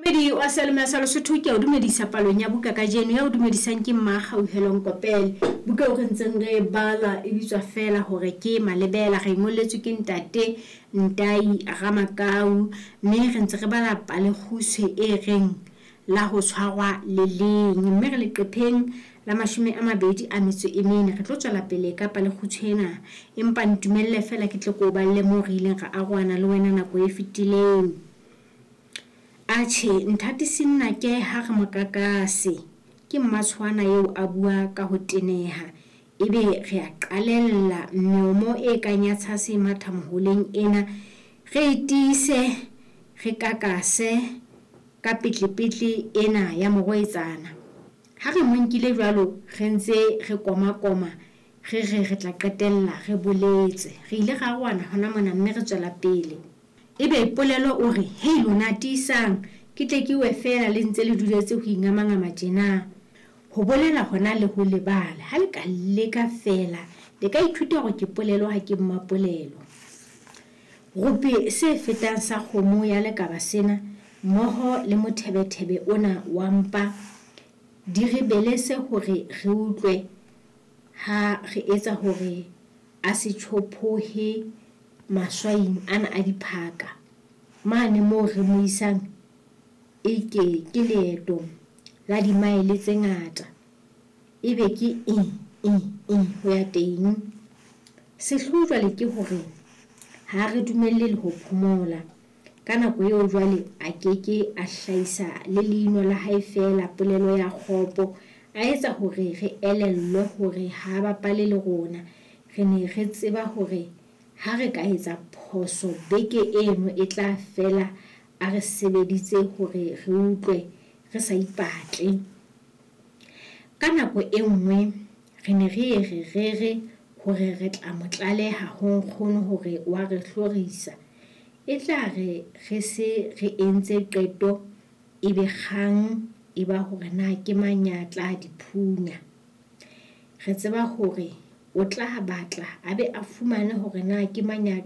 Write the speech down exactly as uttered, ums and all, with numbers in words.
Momamedi wa Seyalemoya sa Lesotho, ke a o dumedisa palong ya buka kajeno. Ya o dumedisang ke Mmakgauhelo Nkopele. Buka eo re ntseng re e bala e bitswa feela hore ke Malebela. Re ngolletswe ke ntate Ntai Ramakau, mme re ntse re bala palekgutshwe e reng la ho tshwarwa le leng, mme re leqepheng la mashome a mabedi a metso e mene. Re tlo tswela pele ka palekgutshwe ena, empa ntumelle feela ke tle ke o balle moo re ileng ra arohana le wena nako e fetileng. Atjhe, nthatisi nnake ha re mokakase, ke mmatshwana eo a bua ka ho teneha. Ebe re a qalella meomo e kang ya tshase e matha moholeng ena. Re e tiise, re kakase ka petlepetle ena ya morwetsana. Ha re mo nkile jwalo, re ntse re komakoma, re re re tla qetella re boletse. Re ile ra arohana hona mona mme re tswela pele. Ebe polelo o re, hei lona tiisang, ke tle ke we feela le ntse le duletse ho ingamangama tjena. Ho bolela hona le ho lebala, ha le ka leka feela, le ka ithuta hore ke polelo ha ke mmapolelo. Rope se fetang sa kgomo ya lekaba sena, mmoho le mothebethebe ona wa mpa, di re belese hore re utlwe ha re etsa hore a se tjhophohe maswaing ana a diphaka. Mane moo re mo isang e ke ke leeto la dimaele tse ngata. Ebe ke eng, eng, eng ho ya teng. Sehloho jwale ke hore ha re dumelle le ho phomola. Ka nako eo jwale a keke a hlahisa le leino la hae feela polelo ya kgopo. A etsa hore re elellwe hore ha bapale le rona. Re ne re tseba hore ha re ka etsa phoso beke eno e tla fela a re sebeditse hore re utlwe re sa ipatle. Ka nako e nngwe re ne re ye re rere hore re tla mo tlaleha ho nkgono hore wa re hlorisa. E tla re re se re entse qeto ebe kgang e ba hore na ke mang ya tla di phunya. Re tseba hore o tla batla a be a fumane hore na ke mang ya